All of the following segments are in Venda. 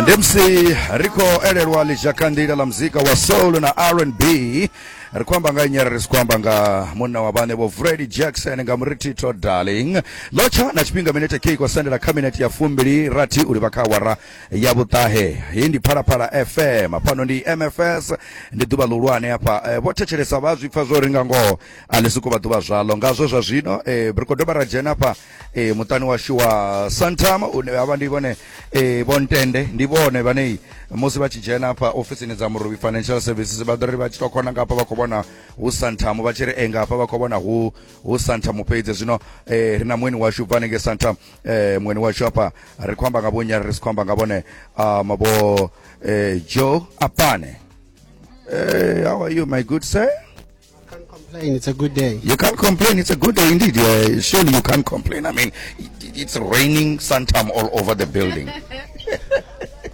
Ndi musi ri khou elelwa ḽizhakanḓila ḽa muzika wa soul na R&B. Ri khou amba nga nnyi? Ri si khou amba nga munna wa vhaṋe Vho Freddie Jackson nga murithitho Darling. Lotsha na tshifhinga minete K khou sendela kha minete ya 28 u livha kha awara ya vhuṱahe. Heyi ndi Phalaphala FM, fhano ndi MFS, ndi ḓuvha ḽihulwane hafha. Vho thetshelesa vha zwi pfa zwo ri nga ngoho a ḽi sokou vha ḓuvha zwaḽo. Ngazwo zwa zwino ri khou dovha ra dzhena hafha muṱani washu wa Santam, une havha ndi vhone Vho Ntende, ndi vhone vhane musi vha tshi dzhena hafha ofisini dza Murovhi Financial Services vha ḓo ri vha tshi tou khona nga hafha vha khou vhona hu Santam, vha tshi ri nga hafha vha khou vhona hu Santam fhedzi. Zwino ri na mueni washu bva hanengei Santam, mueni washu hafha ri khou amba nga vhonyi, ri si khou amba nga vhone vho Joe Apane. How are you, my good sir? Can't complain. It's a good day. You can't complain. It's a good day indeed. Surely you can't complain. I mean, it's raining Santam all over the building.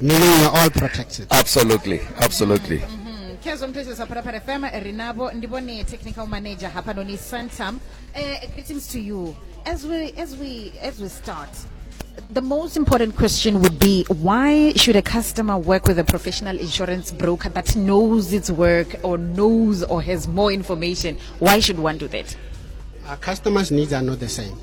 Meaning we're all protected. Absolutely. Absolutely. Khezwo mthetshelesi wa Phalaphala FM, ri navho ndi vhone technical manager hafhanoni Santam. Greetings to you. As we start, the most important question would be, why should a customer work with a professional insurance broker that knows its work or knows or has more information? Why should one do that? Our customers' needs are not the same.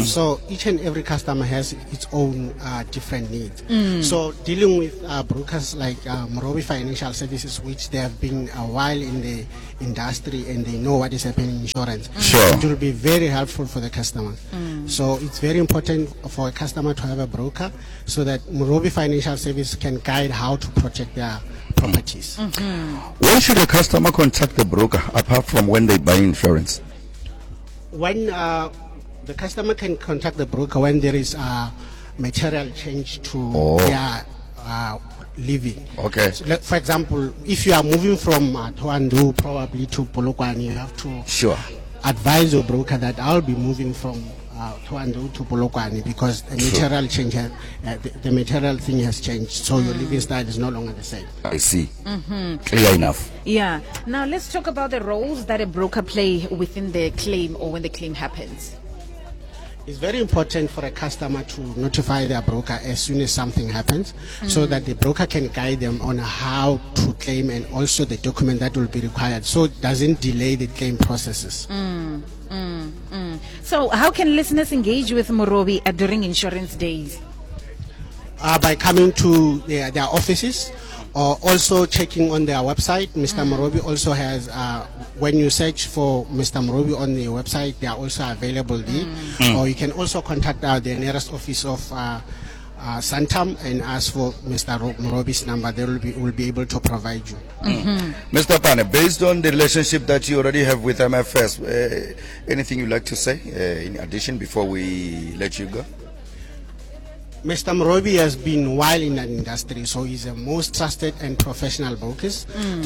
So each and every customer has its own different needs. So dealing with brokers like Morobe Financial Services, which they have been a while in the industry and they know what is happening in insurance. It will be very helpful for the customers. So it's very important for a customer to have a broker so that Morobe Financial Service can guide how to protect their properties. When should a customer contact the broker apart from when they buy insurance? When the customer can contact the broker when there is a material change to their living. So, like, for example, if you are moving from Thohoyandou probably to Polokwane, you have to advise your broker that I'll be moving from Thohoyandou to Polokwane because the material change, the material thing has changed, so your living style is no longer the same. I see. Clear enough. Yeah. Now let's talk about the roles that a broker play within the claim or when the claim happens. It's very important for a customer to notify their broker as soon as something happens, so that the broker can guide them on how to claim and also the document that will be required, so it doesn't delay the claim processes. So how can listeners engage with Morobe during insurance days? By coming to their offices, or also checking on their website. Mr. Morobe also has, when you search for Mr. Morobe on the website, they are also available there. Or you can also contact the nearest office of Santam and ask for Mr. Morobe's number. They will be able to provide you. Mr. Pane, based on the relationship that you already have with MFS, anything you'd like to say in addition before we let you go? Mr. Morobe has been while in the industry, so he's a most trusted and professional broker.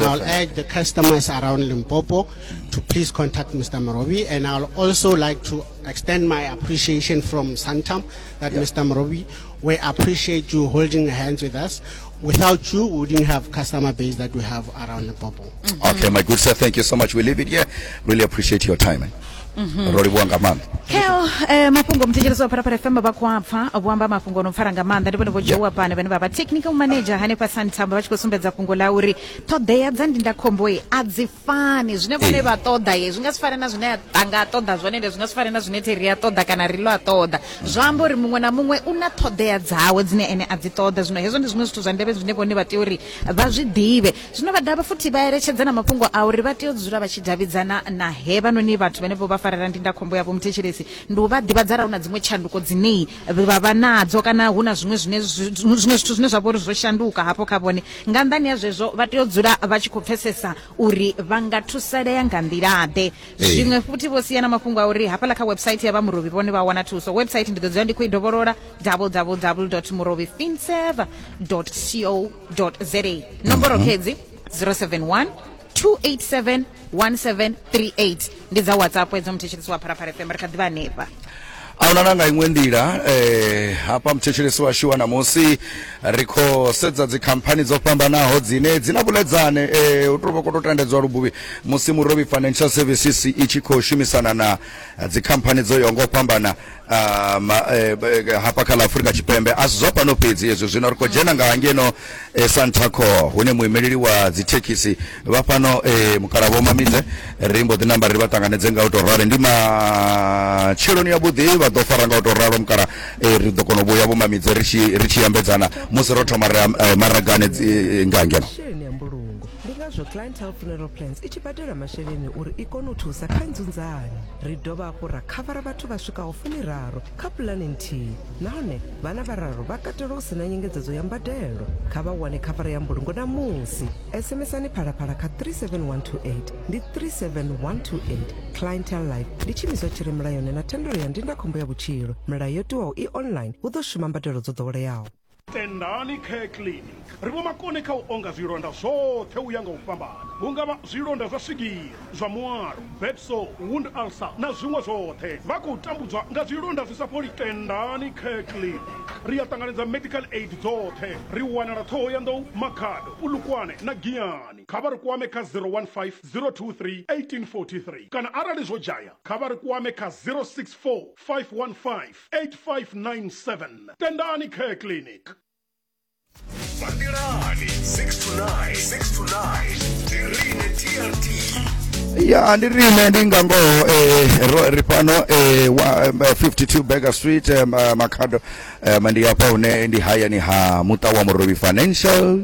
I'll urge the customers around Limpopo to please contact Mr. Morobe, and I'll also like to extend my appreciation from Santam that Mr. Morobe, we appreciate you holding hands with us. Without you, we wouldn't have customer base that we have around Limpopo. Okay, my good sir, thank you so much. We leave it here. Really appreciate your time. Eh? Ro livhuwa nga maanḓa. Kheo mafhungo muthetshelesi wa Phalaphala FM vha khou apfa vho amba mafhungo no pfala nga maanḓa. Ndi vhone vho Joe Pane vhane vha vha technical manager hanefha Santam, vha tshi khou sumbedza fhungo ḽa uri ṱhoḓea dza ndindakhombo a dzi fani. Zwine vhone vha ṱoḓa ye zwi nga si fane na zwine a nga ṱoḓa zwone, ende zwi nga si fane na zwine Terry a ṱoḓa kana Rilo a ṱoḓa. Zwa amba uri muṅwe na muṅwe u na ṱhoḓea dzawe dzine ene a dzi ṱoḓa. Zwino hezwo ndi zwiṅwe zwithu zwa ndeme zwine vhone vha tea uri vha zwi ḓivhe. Zwino vha dovha futhi vha eletshedza na mafhungo a uri vha tea u dzula vha tshi davhidzana na hevhanoni vhathu vhane vho vha farela ndindakhombo yavho. Muthetshelesi, ndi u vha ḓivhadza arali hu na dziṅwe tshanduko dzine vha vha nadzo kana hu na zwiṅwe zwine zwiṅwe zwithu zwine zwa vha uri zwo shanduka hafho kha vhone. Nga nnḓani ha zwezwo, vha tea u dzula vha tshi khou pfesesa uri vha nga thusalea nga nḓila-ḓe. Zwiṅwe futhi vho sia na mafhungo a uri hafhaḽa kha website ya vha Murovhi vhone vha wana thuso. Website ndi ḓo dzula ndi khou i dovholola, www murovhifinserv co za. Nomboro khedzi 071 287 1738, ndi dza WhatsApp edzo. Muthetshelesi wa Phalaphala FM, ri kha ḓivha hanefha. Ahuna na nga iṅwe nḓila eh, hafha muthetshelesi washu wa ṋamusi ri khou sedza dzikhamphani dzo fhambanaho dzine dzi na vhuledzane eh, u tou vha khou tou tandedzwa lubuvhi musi Murovhi Financial Services i tshi khou shumisana na dzikhamphani dzo yaho nga u fhambana hafha kha ḽa Afurika Tshipembe. A si zwa fhano fhedzi hezwi, zwino ri khou dzhena nga ngeno Santaco hune muimeleli wa dzithekhisi vha fhano mukala Vho Mamidze ri mbo ḓi namba ri vha ṱanganedze nga u tou ralo. Ndi matsheloni ya vhuḓi vha ḓo fara nga u tou ralo mukala, ri ḓo kona u vhuya Vho Mamidze ri tshi ri tshi ambedzana musi ro thoma ri maragani nga ngeno. Masheleni a mbulungo. Ndi ngazwo Clientele Funeral Plans i tshi badela masheleni uri i kone u thusa kha nzunzanyo. Ri dovha hafhu ra khavara vhathu vha swikaho fumiraru kha pulane nthihi nahone vhana vhararu vha katelwa hu si na nyengedzedzo ya mbadelo. Kha vha wane khavara ya mbulungo namusi. SMSani Phalaphala kha 37128 ndi 37128. Clientele Life ndi tshiimiswa tshi re mulayoni na thendelo ya ndindakhombo ya vhutshilo. Milayo yo tiwaho i online hu ḓo shuma mbadelo dzo ḓoweleaho. Tendani Care Clinic ri vhomakone kha u onga zwilonda zwoṱhe u ya nga u fhambana, hu nga vha zwilonda zwa swigiri, zwa mualo, bed sore, wound ulcer na zwiṅwe zwoṱhe. Vha khou tambudzwa nga zwilonda zwi sa fholi? Tendani Care Clinic ri a ṱanganedza medical aid dzoṱhe. Ri wanala Ṱhohoyanḓou, Makhado, Polokwane na Giyani. Kha vha ri kwame kha 015 023 1843 kana arali zwo dzhaya kha vha ri kwame kha 064 515 8597 Tendani Care Clinic. Mandelani 6 to 9 6 to 9 ndi rine TRT. Ya ndi rine ndi nga ngoho ro ri fhano wa 52 Baker Street Makhado ndi hafha hune ndi hayani ha muṱa wa Murovhi Financial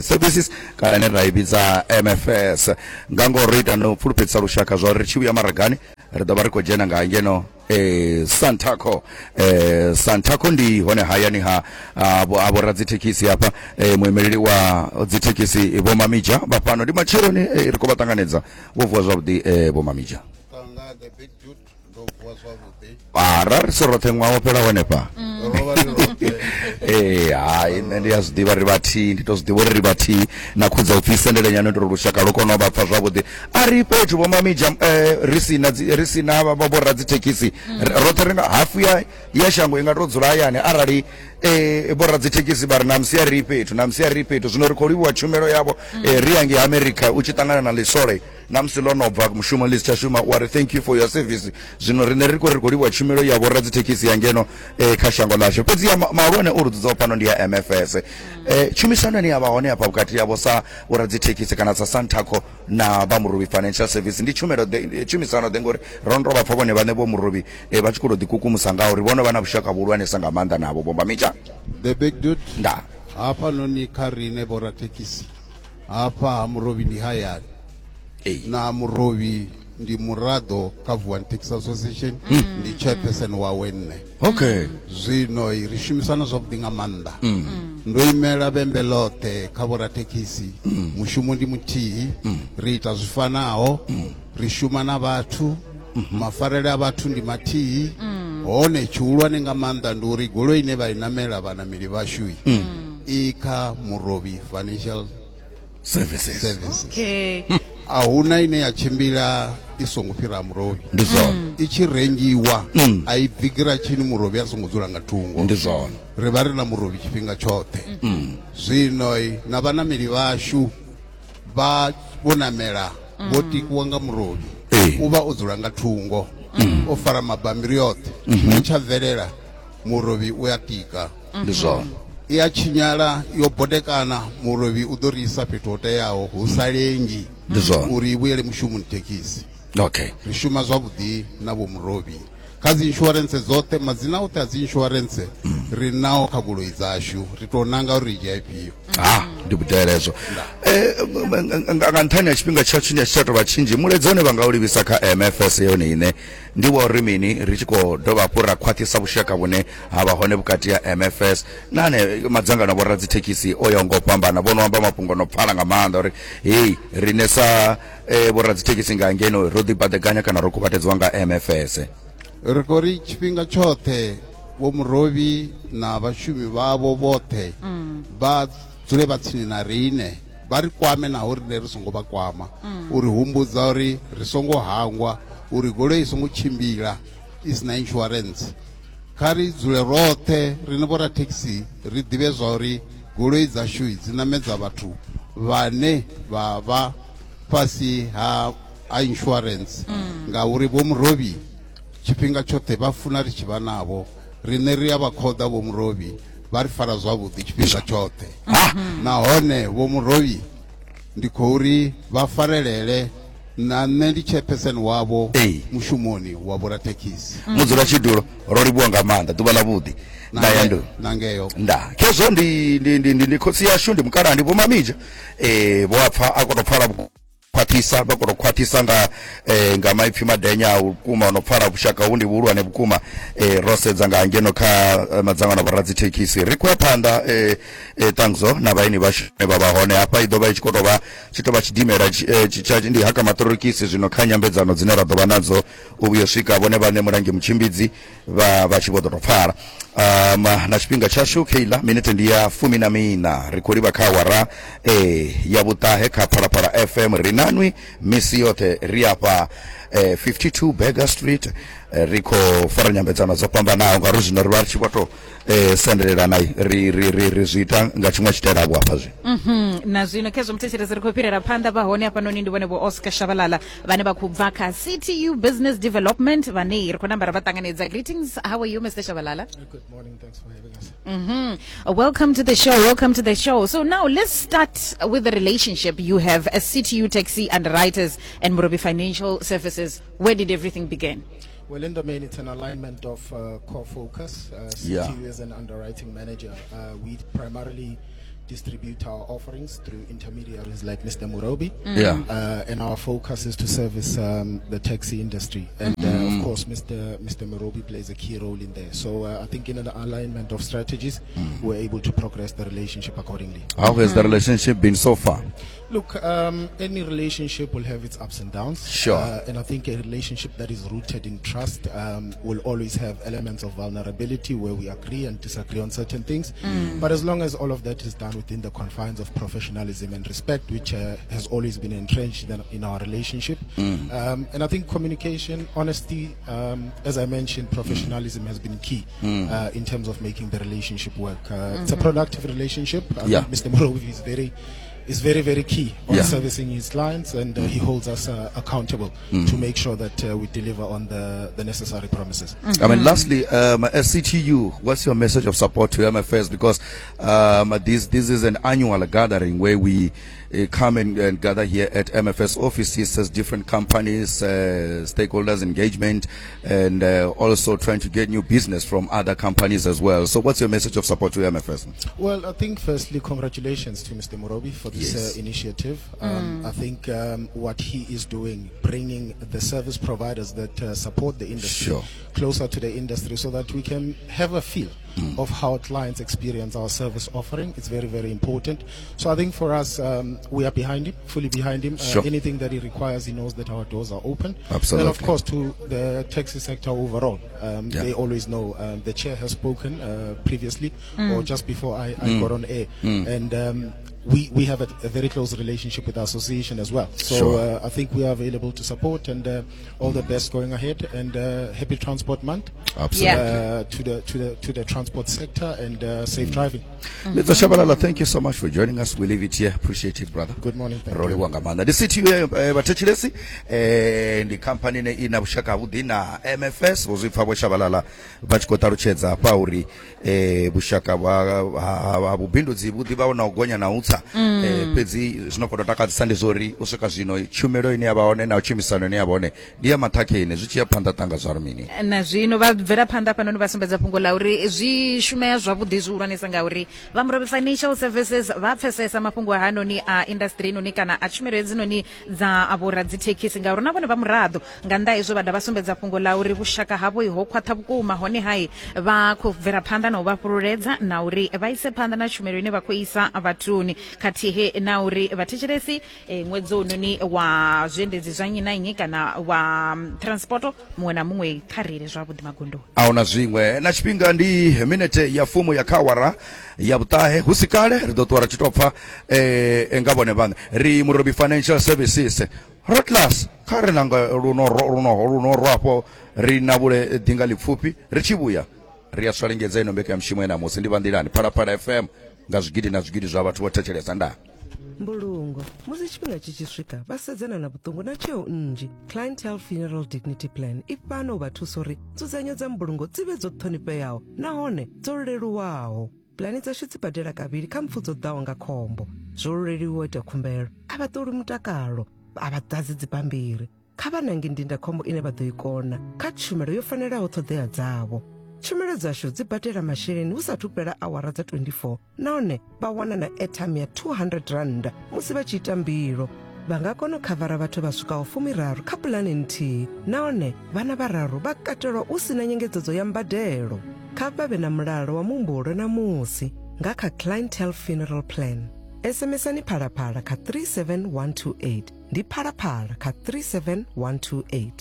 Services kana ine ra i vhidza MFS. Nga ngoho ro ita no pfulufhedzisa lushaka zwa uri ri tshi vhuya maragani ri ḓo vha ri khou dzhena nga ngeno Santaco. Santaco ndi hone hayani ha ha vhoradzithekhisi hafha. Muimeleli wa dzithekhisi Vho Mamija vha fhano. Ndi matsheloni ri khou vha ṱanganedza. Vho vuwa zwavhuḓi Vho Mamija? Tanga the big dude, ndo vuwa zwavhuḓi. Ra ri si roṱhe ṅwaha wo fhela hanefha. Ro vha ri roṱhe. Hai nṋe ndi a zwi ḓivha ri vhathihi, ndi to zwi ḓivha uri ri vhathihi na khudza upfi sendele nyana uri lushaka lu kone u vha pfa zwavhuḓi. A ri fhethu Vho Mamija ri si na ri si na vha vho radzithekhisi roṱhe ri nga hafu ya ya shango i nga to dzula hayani arali vho radzithekhisi vha ri na musi a ri fhethu na musi a ri fhethu. Zwino ri khou livhuwa tshumelo yavho. Ri ya ngei America u tshi ṱangana na ḽisole na musi ḽo no bva mushumo ḽi si tsha shuma wa ri thank you for your service. Zwino riṋe ri khou livhuwa tshumelo ya vho radzithekhisi ya ngeno kha shango ḽashu. Fhedzi ya mahulwane o ri dzudzaho fhano ndi ya MFS. Tshumisano ine ya vha hone hafha vhukati havho sa vho radzithekhisi kana sa Santaco na vha Murovhi Financial Service ndi tshumelo ḓe, tshumisano ḓe, ngori ro no tou vha pfa vhone vhaṋe vho Murovhi vha tshi khou tou ḓikukumusa nga uri vhono vha na vhushaka vhuhulwanesa nga maanḓa navho. Vho Mamija. The big dude. Nda. Hafhanoni kha riṋe vho rathekhisi hafha ha Murovhi ndi hayani. Na Murovhi ndi muraḓo kha Vuwani Taxi Association, ndi chairperson wawe nṋe. Zwino ri shumisana zwavhuḓi nga maanḓa. Ndo imela vhembe ḽoṱhe kha vhorathekhisi. Mushumo ndi muthihi, ri ita zwi fanaho, ri shuma na vhathu, mafarele a vhathu ndi mathihi. Hone tshihulwane nga maanḓa ndi uri goloi ine vha i namela vhanameli vhashu i kha Murovhi Financial Services. Services. Okay. A huna ine ya tshimbila i songo fhira Murovhi. Ndi zwone. I tshi rengiwa a i bvi giratshini Murovhi a songo dzula nga thungo. Ndi zwone. Ri vha ri na Murovhi tshifhinga tshoṱhe. Zwino na vhanameli vhashu vha vho namela vho tikiwa nga Murovhi. U vha o dzula nga thungo o fara mabambiri oṱhe. I tsha bvelela Murovhi u ya tika. Ndi zwone. I a tshinyala yo bodekana Murovhi u ḓo ri isa fhethu ho teaho hu sa lengi. Ndi zwone. Uri i vhuyele mushumoni thekhisi. Okay. Ri shuma zwavhuḓi na vho Murovhi kha dzi insurance dzoṱhe, madzina oṱhe a dzi insurance ri nao kha goloi dzashu, ri tou nanga uri ri dzhia ifhio. Ha, ndi vhudele hezwo. Nga nṱhani ha tshifhinga tsha tshine tshi tsha tou vha tshinzhi, mulaedza une vha nga u livhisa kha MFS yone ine ndi wa uri mini ri tshi khou dovha hafhu ra khwaṱhisa vhushaka vhune ha vha hone vhukati ha MFS na ane madzangano a vhoradzithekhisi o yaho nga u fhambana, vho no amba mafhungo no pfala nga maanḓa uri hei riṋe sa vhoradzithekhisi nga ngeno ro ḓibaḓekanya kana ro kuvhatedziwa nga MFS. Ri khou ri tshifhinga tshoṱhe vho Murovhi na vhashumi vhavho vhoṱhe vha dzule vha tsini na riṋe, vha ri kwame naho riṋe ri songo vha kwama, uri humbudza uri ri songo hangwa uri goloi i songo tshimbila i si na insurance. Kha ri dzule roṱhe riṋe vhorathekhisi ri ḓivhe zwa uri goloi dzashu dzi ṋamedza vhathu vhane vha vha fhasi ha ha insurance ngauri vho Murovhi tshifhinga tshoṱhe vha funa ri tshi vha navho. Riṋe ri a vha khoḓa vho Murovhi, vha ri fara zwavhuḓi tshifhinga tshoṱhe. Nahone vho Murovhi ndi khou ri vha farelele na nṋe ndi chairperson wavho mushumoni wa vhorathekhisi. Mudzulatshidulo, ro livhuwa nga maanḓa, ḓuvha ḽa vhuḓi. Nda ya ndu. Na ngeyo. Nda. Khezwo ndi ndi ndi ndi khotsi yashu ndi mukalaha ndi Vho Mamija. Eh vho apfa a koto pfala khwaṱhisa vha koto khwaṱhisa nga eh, nga maipfi madenya a vhukuma no pfala vhushaka hu ndi vhuhulwane vhukuma eh, ro sedza nga ngeno kha eh, madzangano a vhoradzithekhisi. Ri khou ya phanḓa eh, eh, Tangzo na vhaeni vhashu vha vha hone hafha i ḓo vha i tshi khou tou vha tshi tou vha tshidimela tsha ndi haka maṱorokisi zwino kha nyambedzano dzine ra ḓo vha nadzo u vhuya swika vhone vhaṋe mulangi mutshimbidzi vha vha tshi vho ḓo tou pfala. Na tshifhinga tshashu kheiḽa minete ndi ya 14, ri khou livha kha awara ya vhuṱahe kha Phalaphala FM. Ri nanwi misi yoṱhe, ri afha 52 Burger Street, ri khou fara nyambedzano dzo fhambanaho ngauri zwino ri vha ri tshi vho tou sendelelana, ri ri ri ri zwi ita nga tshiṅwe tshitaela vho hafha zwino. Na zwino khezwo muthetshelesi ri khou fhirela phanḓa vha hone hafhanoni ndi vhone vho Oscar Shabalala vhane vha khou bva kha CTU Business Development vhane ri khou namba ra vha ṱanganedza. Greetings, how are you Mr Shabalala? Good morning, thanks for having us. Welcome to the show, welcome to the show. So now let's start with the relationship you have as CTU Taxi Underwriters and Murobi Financial Services. Where did everything begin? Well, in the main, it's an alignment of core focus. CTU as an underwriting manager, we primarily distribute our offerings through intermediaries like Mr. Murobi. And our focus is to service the taxi industry. And of course, Mr. Murobi plays a key role in there. So I think in an alignment of strategies, we're able to progress the relationship accordingly. How has the relationship been so far? Look, any relationship will have its ups and downs. And I think a relationship that is rooted in trust will always have elements of vulnerability where we agree and disagree on certain things. But as long as all of that is done within the confines of professionalism and respect, which has always been entrenched in our relationship. And I think communication, honesty, as I mentioned, professionalism has been key in terms of making the relationship work. It's a productive relationship. I think Mr. Murobi is very, very key on servicing his clients, and he holds us accountable to make sure that we deliver on the necessary promises. I mean, lastly, as CTU, what's your message of support to MFS? Because this is an annual gathering where we come and gather here at MFS offices as different companies, stakeholders engagement, and also trying to get new business from other companies as well. So what's your message of support to MFS? Well, I think firstly, congratulations to Mr. Murobi for this initiative. I think what he is doing, bringing the service providers that support the industry closer to the industry so that we can have a feel of how clients experience our service offering. It's very, very important. So I think for us, we are behind him, fully behind him. Anything that he requires, he knows that our doors are open. And of course, to the taxi sector overall, they always know. The chair has spoken previously, or just before I got on air. And we have a very close relationship with the association as well. So I think we are available to support, and all the best going ahead, and happy Transport Month. To the transport sector, and safe driving. Mr. Shabalala, thank you so much for joining us. We leave it here. Appreciate it, brother. Good morning. Thank Ro you. livhuwa nga maanḓa. Ndi CTU vhathetshelesi, ndi khamphani ine i na vhushaka havhuḓi na MFS. Vho zwi pfa Vho Shabalala vha tshi khou ṱalutshedza hafha uri vhushaka ha vhubindudzi vhu ḓivha na u gonya na u tsa, fhedzi zwino khou tou takadzisa ndi zwori u swika zwino tshumelo ine ya vha hone na tshumisano ine ya vha hone ndi ya maṱhakheni. Zwi tshi ya phanḓa tanga zwa ri mini? Na zwino vha bvela phanḓa hafhanoni vha sumbedza fhungo ḽa uri zwi shumea zwavhuḓi zwihulwanesa ngauri vha Murovhi Financial Services vha pfesesa mafhungo hanoni a industry noni kana a tshumelo hedzinoni dza vhoradzithekhisi ngauri na vhone vha muraḓo. Nga nnḓa hezwo vha dovha sumbedza fhungo ḽa uri vhushaka havho ho khwaṱha vhukuma, hone hai vha khou bvela phanḓa na u vha fhululedza na uri vha ise phanḓa na tshumelo ine vha khou isa vhathuni, khathihi na uri vhathetshelesi ṅwedzi unoni wa zwiendedzi zwa nnyi na nnyi kana wa transporto muṅwe na muṅwe kha reile zwavhuḓi magondoni. Ahuna zwiṅwe. Na tshifhinga ndi minete ya fumu ya kha awara ya vhuṱahe. Hu si kale ri ḓo ṱuwa ra tshi tou pfa nga vhone vhaṋe. Ri Murobi Financial Services Rotlas kha ri nanga luno luno luno rwafho ri navhule ḓinga ḽipfufhi ri tshi vhuya. Ri a swalengedza ino mbekanyamushumo ya ṋamusi ndi vhanḓilani Phalaphala FM nga zwigidi na zwigidi zwa vhathu vho thetshelesa ndaa. Mbulungo. Musi tshifhinga tshi tshi swika, vha sedzana na vhuṱungu na tsheo nnzhi. Clientele Funeral Dignity Plan i fhano u vha thusa uri nzudzanyo dza mbulungo dzi vhe dzo ṱhonifheaho nahone dzo leluwaho. Pulani dzashu dzi badela kavhili kha mpfu dzo ḓaho nga khombo. Zwo leluwa u ita khumbelo, a vha ṱolwi mutakalo, a vha ḓadzi dzibammbiri. Kha vha nange ndindakhombo ine vha ḓo i kona kha tshumelo yo fanelaho ṱhoḓea dzavho. Tshumelo dzashu dzi badela masheleni hu sathu fhela awara dza 24 nahone vha wana na airtime ya R200 musi vha tshi ita mbilo. Vha nga kona u khavara vhathu vha swikaho fumiraru kha pulane nthihi nahone vhana vhararu vha katelwa hu si na nyengedzedzo ya mbadelo. Kha vha vhe na mulalo wa muhumbulo namusi nga kha Clientele Funeral Plan. SMSani Phalaphala kha 37128. Ndi Phalaphala kha 37128.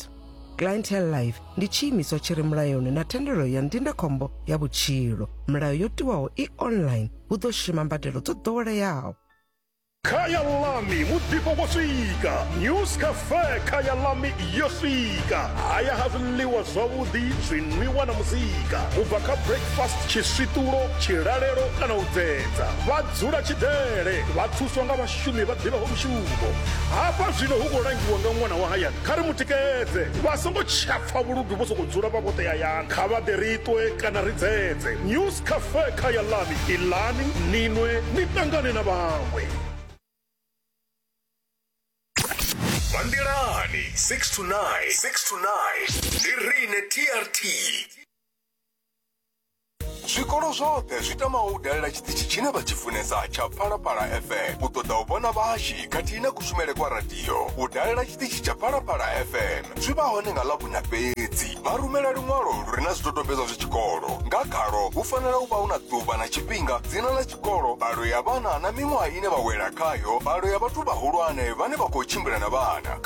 Clientele Life ndi tshiimiswa tshi re mulayoni na thendelo ya ndindakhombo ya vhutshilo. Milayo yo tiwaho i online, hu ḓo shuma mbadelo dzo ḓoweleaho. Khaya Lami muḓifho wo swika. News Cafe Khaya Lami yo swika. Haya ha zwiḽiwa zwavhuḓi, zwinwiwa na muzika. U bva kha breakfast, tshiswiṱulo, tshilalelo kana u dzedza. Vha dzula tshidele, vha thuswa nga vhashumi vha ḓivhaho mushumo. Hafha zwino hu khou langiwa nga ṅwana wa hayani. Kha ri mu tikedze. Vha songo tsha pfa vhuludu vho sokou dzula vha vhoṱhe hayani. Kha vha ḓe ri ṱwe kana ri dzedze. News Cafe Khayalami, iḽani, ni nwe, ni ṱangane na vhaṅwe. Vha nḓilani 6 to 9, 6 to 9 ndi riṋe TRT. Zwikolo zwoṱhe zwi tamaho u dalela tshiṱitshi tshine vha tshi funesa tsha Phalaphala FM u ṱoḓa u vhona vhahashi khathihi na kushumele kwa radio. U dalela tshiṱitshi tsha Phalaphala FM zwi vha hone nga Ḽavhuṋa fhedzi. Vha rumela luṅwalo lu re na zwidodombedzwa zwa tshikolo. Nga khalwo hu fanela u vha hu na ḓuvha na tshifhinga, dzina ḽa tshikolo, mbalo ya vhana na miṅwaha ine vha wela khayo, mbalo ya vhathu vhahulwane vhane vha khou tshimbila na vhana.